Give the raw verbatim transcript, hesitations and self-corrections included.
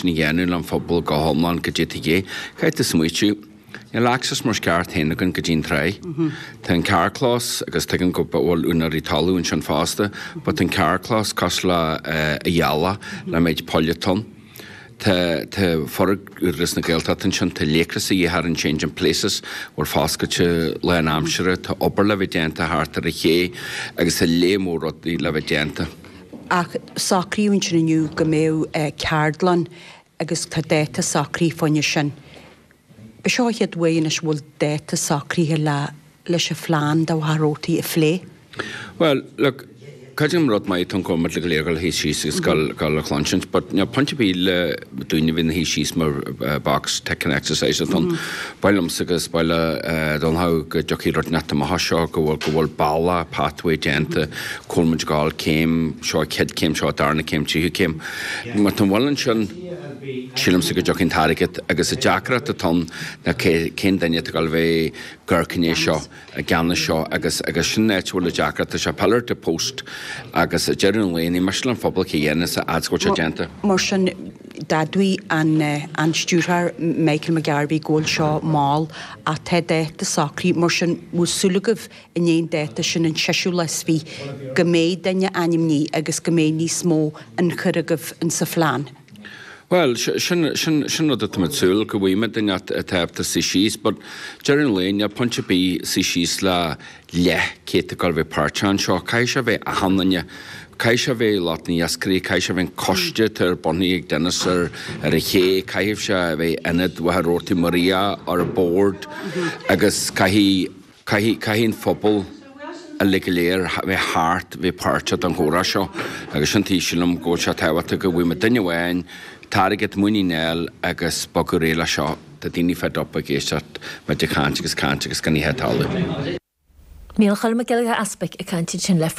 sin a dhéanamh le an phobal go hiomlán go dtí é. Caithfidh tú smaoitiú, Níl access mar is ceart féin againn go dtí'n tráigh. Tá an carrchlós agus tuigim go bhfuil úinéirí talún ansin fosta, but tá an carrchlós cosúil le a ghealach le méid poill ann. Tá tá foirgneamh na Gaeltachta ansin, tá laochras a dhíth ar an Changing Places bhfuil foscailte lán aimsire, tá obair le bheith déanta thart ar an ché agus tá léar mór rudaí le bheith déanta. Ach socraíodh ansin inniu go mbeadh ceardlann agus tá dáta socraithe fá choinne sin. Ba seo an chéad uair anois a bhfuil dáta socraithe le leis an phlean do Mhachaire Rabhartaigh a phlé. Well, look, creidim rud maith atá go muid le go léir dul thíos síos agus dul dul a chluinsint, but níl pointe ar bith le daoine a bheith ina shuí síos mar box ticking exercise atá ann. Ba mhaith liomsa agus ba mhaith le Donnchadh go dtiocfaidh rud inteacht amach as seo, go bhfuil go bhfuil bealach, pathway déanta, cá bhfuil muid ag gabháil céim, seo chéad céim, seo darna céim, tríú céim. Má tá an bhfuil ansin, sílimse go dtiocfaidh an t-airgead agus an deacracht atá ann ná cén duine atá ag dul a bheith ag amharc i ndiaidh seo, i gceannas seo agus agus sin an áit a bhfuil an deacracht, tá sé pillar to post agus ag deireadh an lae ní miste le an phobal cé dhéanas a fhad is go bhfuil sé déanta. Mar sin d'admhaigh an an stiúrthóir Michael McGarvey go bhfuil seo mall ach tá dáta socraithe, mar sin bhfuil súil agaibh i ndiaidh an dáta sin an seisiú lá is fiche go mbeidh duine ainmnithe agus go mbeidh níos mó ionchur agaibh insa phlean? Bhuel, sin sin sin rud atá muid súil go bhfaighimid duine atá ábalta suí síos, but deireadh an lae níl pointe ar bith suí síos le leith cé atá ag dul a bheith páirteach anseo. Caithfidh sé a bheith achan duine. Caithfidh sé a bheith lucht na n-iascairí, caithfidh sé a bheith an coiste atá ar bunaithe ag Dennis ar ar an ché, caithfidh sé a bheith ionad Mhachaire Rabhartaigh Maria ar an bord agus caithfidh Caithfidh, caithfidh an phobal uilig go léir bheith thart, bheith páirteach den chomhrá seo agus sin tuige sílim go bhfuil sé tábhachtach go bhfaighidh muid duine amháin, t-airgead, muinín a fháil agus bogadh ar aghaidh leis seo. Tá daoine fed up ag éisteacht muid ag caint agus caint agus gan oíche talamh. Micheál Mac Giolla Easpaig ag caint ansin le